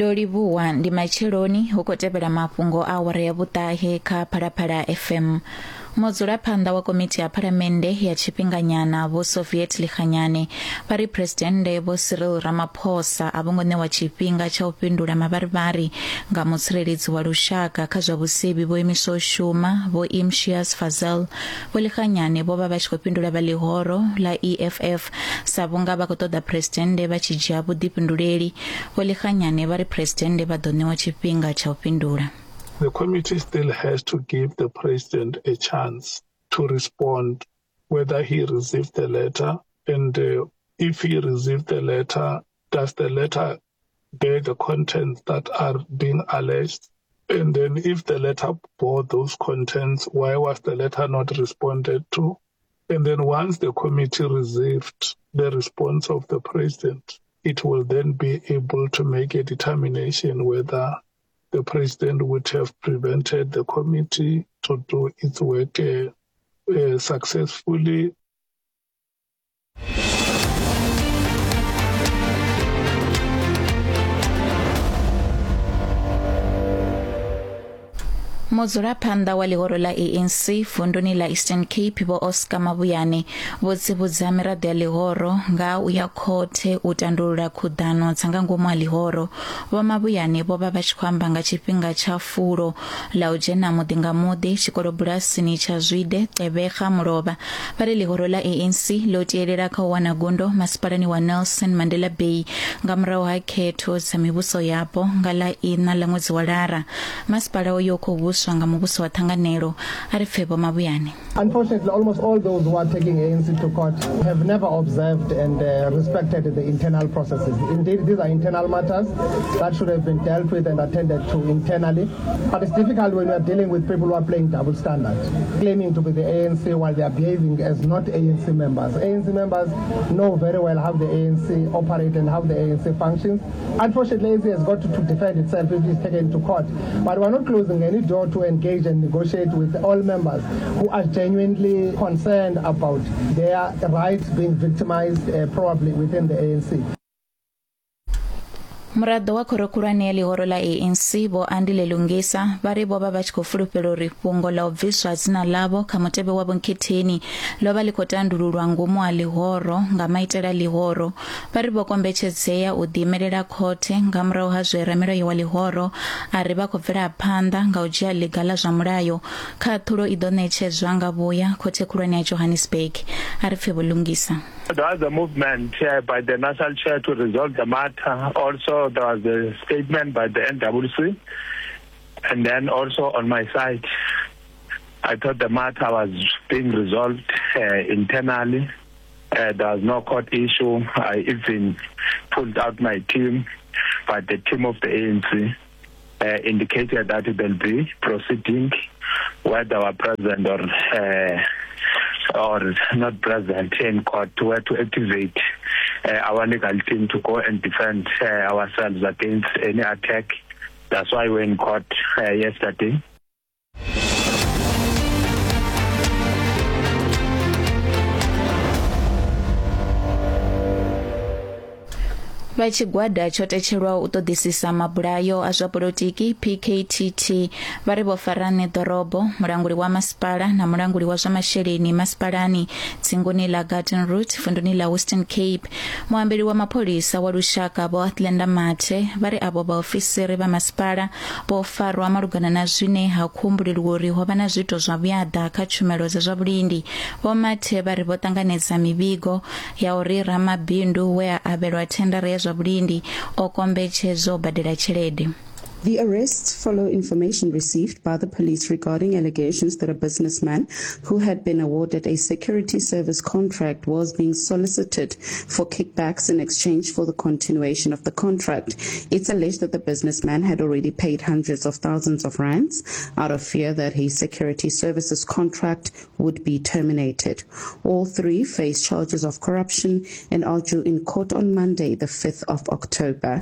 Ndo livhuwa ndi matsheloni hu khou tevhela mafhungo a awara ya vhuṱahe kha Phalaphala FM. Mudzulaphanḓa wa komiti ya phalamennde ya tshifhinganyana Vho Soviet Lekganyane vha ri Phresidennde Vho Cyril Ramaphosa a vho ngo ṋewa tshifhinga tsha u fhindula mavharivhari nga mutsireledzi wa lushaka kha zwa vhusevhi vho imiswaho u shuma Vho Imtiaz Fazel. Vho Lekganyane vho vha vha tshi khou fhindula vha ḽihoro ḽa EFF sa vhunga vha khou ṱoḓa Phresidennde vha tshi dzhia vhuḓifhinduleli. Vho Lekganyane vha ri Phresidennde vha ḓo ṋewa tshifhinga tsha u fhindula. The committee still has to give the president a chance to respond whether he received the letter and uh, if he received the letter, does the letter bear the contents that are being alleged? And then if the letter bore those contents, why was the letter not responded to? And then once the committee received the response of the president, it will then be able to make a determination whether the president would have prevented the committee to do its work uh, uh, successfully. Mudzulaphanḓa wa ḽihoro ḽa ANC vunduni ḽa Eastern Cape Vho Oscar Mabuyane vho tsivhudza miraḓo ya ḽihoro nga u ya khothe u tandulula khuḓano dza nga ngomu ha ḽihoro. Vho Mabuyane vho vha vha tshi khou amba nga tshifhinga tsha fulo ḽa u dzhena muḓi nga muḓi tshikolobulasini tsha Zwide, Gqeberha, Mulovha. Vha ri ḽihoro ḽa ANC ḽo tielela kha u wana gundo masipalani wa Nelson Mandela Bay nga murahu ha khetho dza mivhuso yapo nga ḽa iṋa ḽa ṅwedzi wa Lara. Masipala uyo u khou vhuswa nga muvhuso wa ṱhanganelo. A ri pfe Vho Mabuyane. Unfortunately, almost all those who are taking ANC to court have never observed and uh, respected the internal processes. Indeed, these are internal matters that should have been dealt with and attended to internally. But it's difficult when you are dealing with people who are playing double standards, claiming to be the ANC while they are behaving as not ANC members. ANC members know very well how the ANC operates and how the ANC functions. Unfortunately, ANC has got to, to defend itself if it's taken to court. But we're not closing any door to engage and negotiate with all members who are genuinely concerned about their rights being victimized uh, probably within the ANC. Muraḓo wa khoro khulwane ya ḽihoro ḽa ANC Vho Andile Lungisa vha ri vho vha vha tshi khou fulufhela uri fhungo ḽa u bviswa dzina ḽavho kha mutevhe wa vhonkhetheni ḽo vha ḽi khou tandululwa ngomu ha ḽihoro nga maitele a ḽihoro. Vha ri vho kombetshedzea u ḓiimelela khothe nga murahu ha zwe ramilayo wa ḽihoro a ri vha khou bvela phanḓa nga u dzhia ḽiga ḽa zwa mulayo. Khaṱhulo i ḓo ṋetshedzwa nga vhuya khothe khulwane ya Johannesburg. A ri pfe Vho Lungisa. There was a movement uh, by the national chair to resolve the matter. Also, there was a statement by the NWC. And then also on my side, I thought the matter was being resolved uh, internally. Uh, there was no court issue. I even pulled out my team, but the team of the ANC uh, indicated that they'll be proceeding whether were present or uh, or not present in court were to activate uh, our legal team to go and defend uh, ourselves against any attack. That's why we're in court uh, yesterday. Vha tshigwada tsho tetshelwaho u ṱoḓisisa mabulayo a zwa polotiki PKTT vha ri vho fara ṋeḓorobo, mulanguli wa masipala na mulanguli wa zwa masheleni masipalani dzinguni ḽa Garden Route vunduni ḽa Western Cape. Muambeli wa mapholisa wa lushaka Vho Athlenda Mathe vha ri avho vhaofisiri vha masipala vho farwa malugana na zwine ha khou humbuleliwa uri ho vha na zwiito zwa vhuaḓa kha tshumelo dza zwa vhulindi. Vho Mathe vha ri vho ṱanganedza mivhigo ya uri ramabindu we a avhelwa thendara ya zwa vhulindi o kombetshedzwa u badela tshelede. The arrests follow information received by the police regarding allegations that a businessman who had been awarded a security service contract was being solicited for kickbacks in exchange for the continuation of the contract. It's alleged that the businessman had already paid hundreds of thousands of rands out of fear that his security services contract would be terminated. All three face charges of corruption and are due in court on Monday, the 5th of October.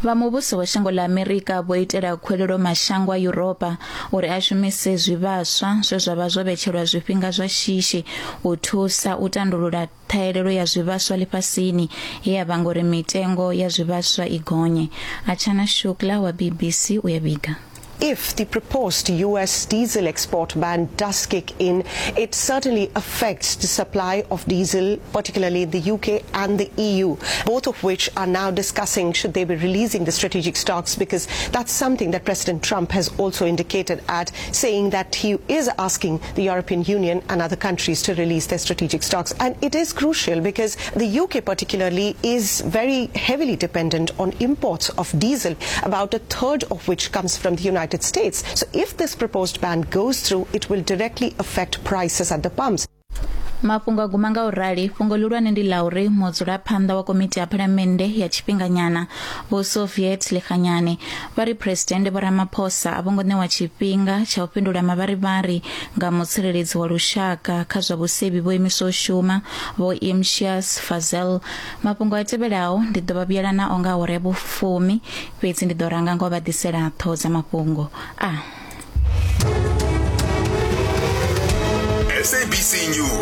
Vha muvhuso wa shango ḽa Amerika vho itela khuwelelo mashango a Yuropa uri a shumise zwivhaswa zwe zwa vha zwo vhetshelwa zwifhinga zwa shishi u thusa u tandulula ṱhahelelo ya zwivhaswa ḽifhasini ye ya vhanga uri mitengo ya zwivhaswa i gonye. Archana Shukla wa BBC u ya vhiga. If the proposed US diesel export ban does kick in, it certainly affects the supply of diesel, particularly in the UK and the EU, both of which are now discussing should they be releasing the strategic stocks, because that's something that President Trump has also indicated at, saying that he is asking the European Union and other countries to release their strategic stocks. And it is crucial because the UK particularly is very heavily dependent on imports of diesel, about a third of which comes from the United States. So if this proposed ban goes through, it will directly affect prices at the pumps. Mafhungo a guma nga u rali. Fhungo ḽihulwane ndi ḽa uri mudzulaphanḓa wa komiti ya phalamennde ya tshifhinganyana Vho Soviet Lekganyane vha ri Phresidennde Vho Ramaphosa a vho ngo ṋewa tshifhinga tsha u fhindula mavharivhari nga mutsireledzi wa lushaka kha zwa vhusevhi vho imiswa u shuma Vho Imtiaz Fazel. Mafhungo a tevhelaho ndi ḓo vha vhuyela nao nga awara ya vhufumi fhedzi ndi ḓo ranga nga u vha ḓisela ṱhoho dza mafhungo a SABC News.